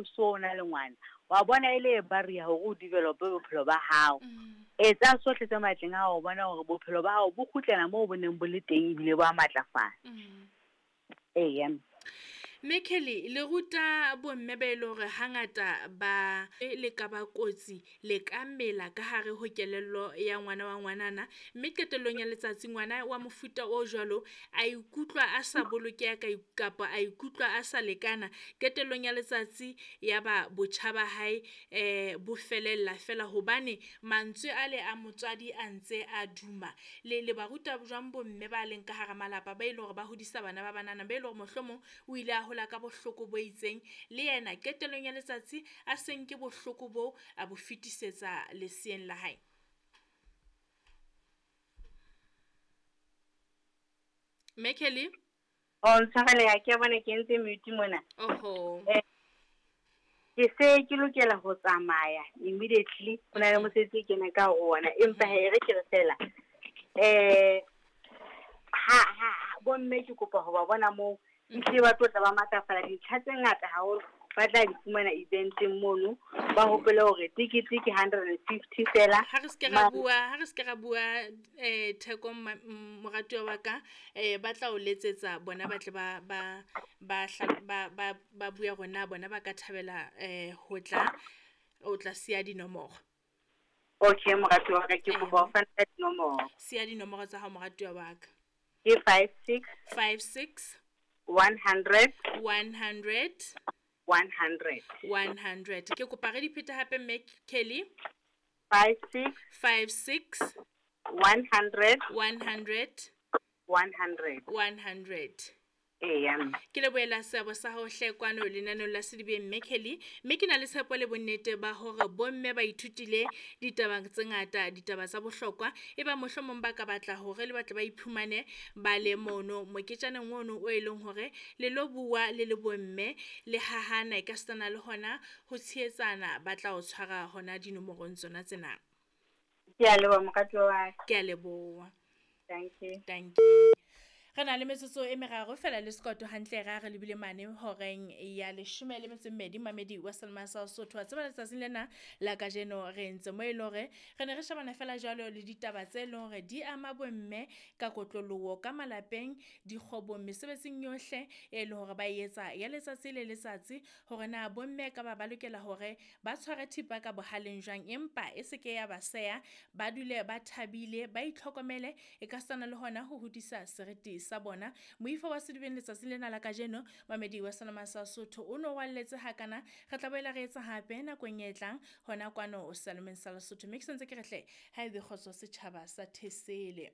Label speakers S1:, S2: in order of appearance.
S1: o so na le ngwana, wa bona e le barrier hore o develop-e bophelo ba hao. Etsa sohle tse matleng a hao ho bona hore bophelo ba hao bo kgutlela moo bo neng bo le teng ebile bo a matlafala. Eya.
S2: Mme Kelly, le ruta bomme ba e le hore hangata ba le ka ba kotsi, le ka mela ka hare ho kelello ya ngwana wa ngwanana. Mme qetellong ya letsatsi ngwana wa mofuta o jwalo a ikutlwa a sa bolokeha kapa a ikutlwa a sa lekana. Qetellong ya letsatsi ya ba botjha ba hae bo felella fela hobane mantswe ale a motswadi a ntse a duma. Le ba ruta jwang bomme ba leng ka hara malapa ba e leng hore ba hodisa bana ba banana, ba e leng hore mohlomong o ile a hola ka bohloko bo itseng, le yena qetellong ya letsatsi a se nke bohloko bo a bo fetisetsa leseeng la hae? Mme Kelly?
S1: Oh, ntshwarele, ha ke a bona ke entse mute mona.
S2: Oho.
S1: Ke se ke lokela ho tsamaya immediately, ho na le mosebetsi e kenang ka ho ona, empa hee re ke re fela. Ha bomme ke kopa ho ba bona moo, ehlile ba tlo tla ba matlafala, dintlha tse ngata haholo ba tla di fumana eventeng mono. Ba hopole hore tekete ke 150 fela.
S2: Ha re se ra bua, ha re se ra bua theko moratuwa wa ka, ba tla o letsetsa bona, ba tle ba ba ba ba ba ba bua hore na bona ba ka thabela ho tla, o tla siya dinomoro.
S1: Okay, moratuwa wa ka, ke kopa ho fana ka dinomoro.
S2: Siya dinomoro tsa hao, moratuwa wa ka.
S1: Ke 56
S2: 56
S1: 100
S2: 100
S1: 100
S2: 100. Ke kopa re di phete hape, Mme Kelly.
S1: 56
S2: 56
S1: 100
S2: 100
S1: 100.
S2: 100.
S1: Eya.
S2: Ke lebohela seabo sa hao hle kwano lenaneong la Sedibeng, Mme Kelly. Mme ke na le tshepo le bonnete ba hore bomme ba ithutile ditaba tse ngata, ditaba tsa bohlokwa. E ba mohlomong ba ka batla hore le batle ba iphumane ba le mono moketjaneng ono o e leng hore le lo bua le le bomme, le hahana e ka sitana le hona ho tshehetsana, ba tla o tshwara hona dinomorong tsona tsena.
S1: Ke a leboha, moratuwa wa ka.
S2: Ke a leboha.
S1: Thank you.
S2: Thank you. Re na le metsotso e meraro fela le sekoto hantle ra re lebile mane horeng ya 12 mamedi wa Selma sa Sotho. Wa tseba letsatsing lena la kajeno re ntse mo e leng hore re ne re shebana fela jwalo le ditaba tse leng hore di ama bomme ka kotloloho ka malapeng, dikgwebong, mesebetsing yohle e leng hore ba e etsa ya letsatsi le letsatsi, hore na bomme ka ba ba lokela hore ba tshware thipa ka bohaleng jwang, empa e se ke ya ba seya, ba dule ba thabile, ba itlhokomele e ka sitana le hona ho hodisa seriti sa bona. Moifo wa Sedibeng letsatsing lena la kajeno, mamedi wa Selma sa Sotho o no walletse hakana. Re tla boela re etsa hape nakong e tlang hona kwano Salomeng sa Lesotho. Mme ke sentse ke re hle, ha ebe kgotso setjhaba sa Thesele.